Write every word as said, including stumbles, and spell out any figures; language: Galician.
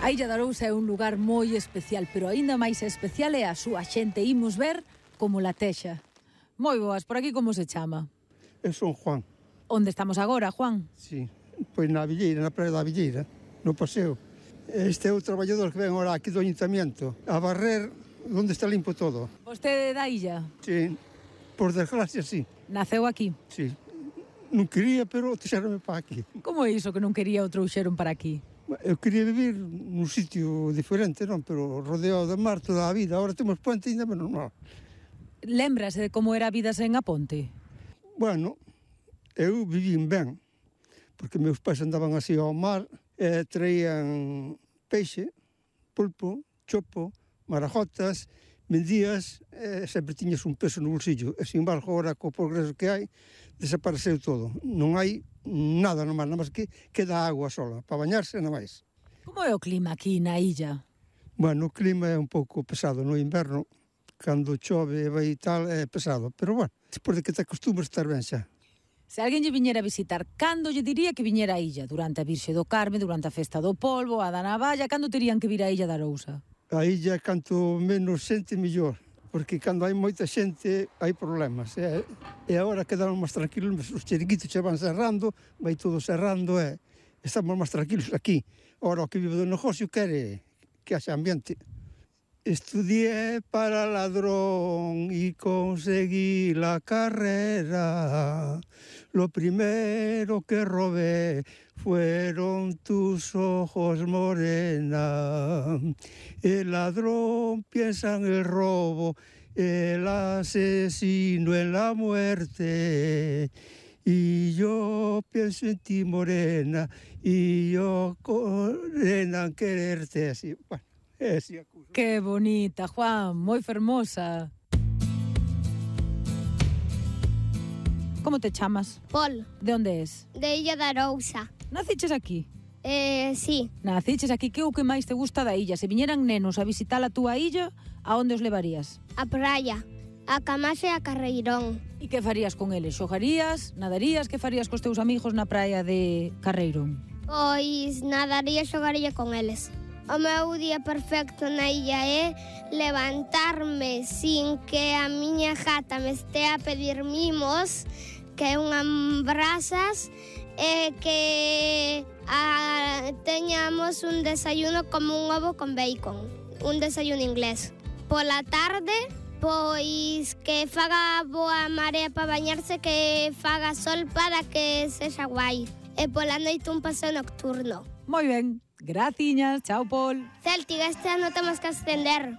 A Illa de Arousa é un lugar moi especial, pero aínda máis especial é a súa xente. Imos ver como la texa. Moi boas, por aquí como se chama? Eu son Juan. Onde estamos agora, Juan? Sí, pois na Villeira, na praia da Villeira, no paseo. Este é o traballador que ven ahora aquí do Ayuntamiento a barrer onde está limpo todo. Vostede da illa? Sí, por desgracia, sí. Naceu aquí? Sí. Non quería, pero trouxeronme para aquí. Como é iso que non quería o trouxeron para aquí? Eu quería vivir nun sitio diferente, non? Pero rodeado de mar toda a vida. Agora temos puente e ainda menos mal. Lembrase de como era a vida sen a ponte? Bueno, eu vivín ben, porque meus pais andaban así ao mar e traían peixe, pulpo, chopo, marajotas, vendías e sempre tiñas un peso no bolsillo. E, sin embargo, agora co progreso que hai, desapareceu todo. Non hai nada no mar, nada máis que queda agua sola, para bañarse nada máis. Como é o clima aquí na illa? Bueno, o clima é un pouco pesado no inverno, cando chove e vai tal é pesado, pero bueno, despois de que te acostumas estar ben xa. Se alguén lle viñera a visitar, cando lle diría que viñera a illa? Durante a Virxe do Carme, durante a Festa do Polvo, a da Navalla, cando terían que vir a Illa de Arousa? A illa, canto menos xente, mellor, porque cando hai moita xente hai problemas. E, e agora quedaron máis tranquilos, os chiringuitos xa van cerrando, vai todo cerrando e estamos máis tranquilos aquí. Agora o que vive do negocio quere que haxa ambiente. Estudié para ladrón y conseguí la carrera. Lo primero que robé fueron tus ojos, morena. El ladrón piensa en el robo, el asesino en la muerte. Y yo pienso en ti, morena, y yo, morena, en quererte. Así, bueno. Que bonita, Juan, moi fermosa. Como te chamas? Pol. De onde es? De Illa de Arousa. Naciches aquí? Eh, sí. Naciches aquí, que é o que máis te gusta da illa? Se viñeran nenos a visitar a túa illa, a onde os levarías? A praia, a Camase e a Carreirón. E que farías con eles? Xogarías, nadarías? Que farías cos teus amigos na praia de Carreirón? Pois nadaría e xogaría con eles. O meu día perfecto na illa é levantarme sin que a miña gata me estea a pedir mimos, que é unhas brasas, e que a, teñamos un desayuno como un ovo con bacon, un desayuno inglés. Pola tarde, pois que faga boa marea para bañarse, que faga sol para que sexa guai. E pola noite un paseo nocturno. Moi ben, graciñas, chao, Pol. Celtic, este ano temos que ascender.